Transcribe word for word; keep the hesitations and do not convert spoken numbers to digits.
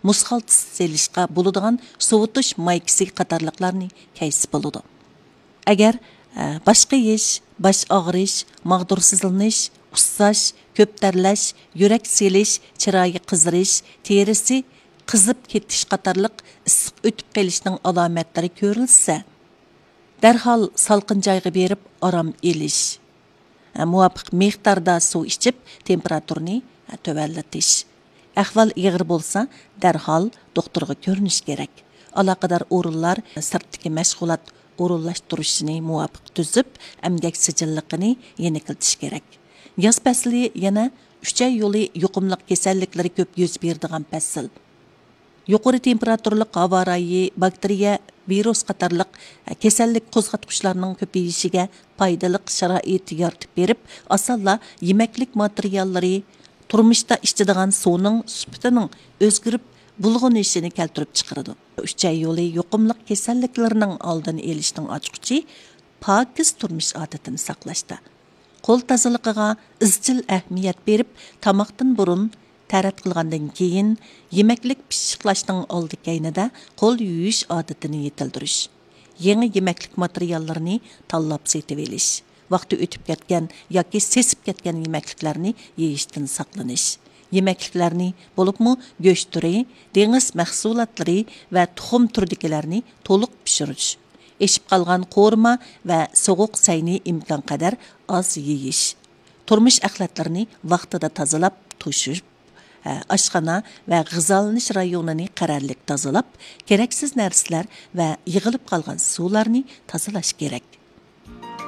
مۇز خالتىسى سېلىشقا بولىدىغان سوۋۇتۇش مايكىسى قاتارلىقلارنى كەيسە بولىدۇ. ئەگەر، ئە، باش قېيىش، باش ئاغرىش، ماغدۇرسىزلىنىش، ئۇسساش، كۆپ تەرلەش، يۈرەك سېلىش، چىرايى قىزىرىش، تېرىسى قىزىپ كېتىش قاتارلىق ئىسسىق ئۆتۈپ قېلىشنىڭ ئالامەتلىرى كۆرۈلسە، دەرھال سالقىن جايغا بېرىپ ئارام ئېلىش. مۇۋاپىق مىقداردا سۇ ئىچىپ، تېمپېراتۇرىنى تۆۋەنلىتىش. ئەھۋال ئېغىر بولسا، دەرھال دوختۇرغا كۆرۈنۈش كېرەك. ئالاقىدار ئورۇنلار سىرتتىكى مەشغۇلات ئورۇنلاشتۇرۇشىنى مۇۋاپىق تۈزۈپ، ئەمگەك سىجىللىقىنى يېنىكلىتىش كېرەك. ياز پەسلى يەنە ئۈچەي يولى يۇقۇملۇق كېسەللىكلىرى كۆپ يۈز بېرىدىغان پەسىل. يۇقىرى تېمپېراتۇرىلىق ھاۋا رايى باكتېرىيە، ۋىرۇس قاتارلىق كېسەللىك قوزغاتقۇچلارنىڭ كۆپىيىشىگە پايدىلىق شارائىت يارىتىپ بېرىپ، ئاسانلا يېمەكلىك ماتېرىياللىرى، تۇرمۇشتا ئىچىدىغان سۇنىڭ سۈپىتىنىڭ ئۆزگىرىپ بۇلغىنىشىنى كەلتۈرۈپ چىقىرىدۇ. ئۈچەي يولى يۇقۇملۇق كېسەللىكلىرىنىڭ ئالدىنى ئېلىشنىڭ ئاچقۇچى پاكىز تۇرمۇش ئادىتىنى ساقلاشتا. قول تازىلىقىغا ئىزچىل ئەھمىيەت بېرىپ، تاماقتىن بۇرۇن، تەرەت قىلغاندىن كېيىن، يېمەكلىك پىششىقلاشنىڭ ئالدى كەينىدە قول يۇيۇش ئادىتىنى يېتىلدۈرۈش. يېڭى يېمەكلىك ماتېرىياللىرىنى تاللاپ سېتىۋېلىش. ۋاقتى ئۆتۈپ كەتكەن ياكى سېسىپ كەتكەن يېمەكلىكلەرنى يېيىشتىن ساقلىنىش. يېمەكلىكلەرنى، بولۇپمۇ گۆش تۈرى، دېڭىز مەھسۇلاتلىرى ۋە تۇخۇم تۈرىدىكىلەرنى تولۇق پىشۇرۇش. ئېشىپ قالغان قورۇما ۋە سوغۇق سەينى ئىمكانقەدەر ئاز يېيىش. تۇرمۇش ئەخلەتلىرىنى ۋاقتىدا تازىلاپ، توشۇپ، ئاشخانا ۋە غىزالىنىش رايونىنى قەرەللىك تازىلاپ، كېرەكسىز نەرسىلەر ۋە يىغىلىپ قالغان سۇلارنى تازىلاش كېرەك.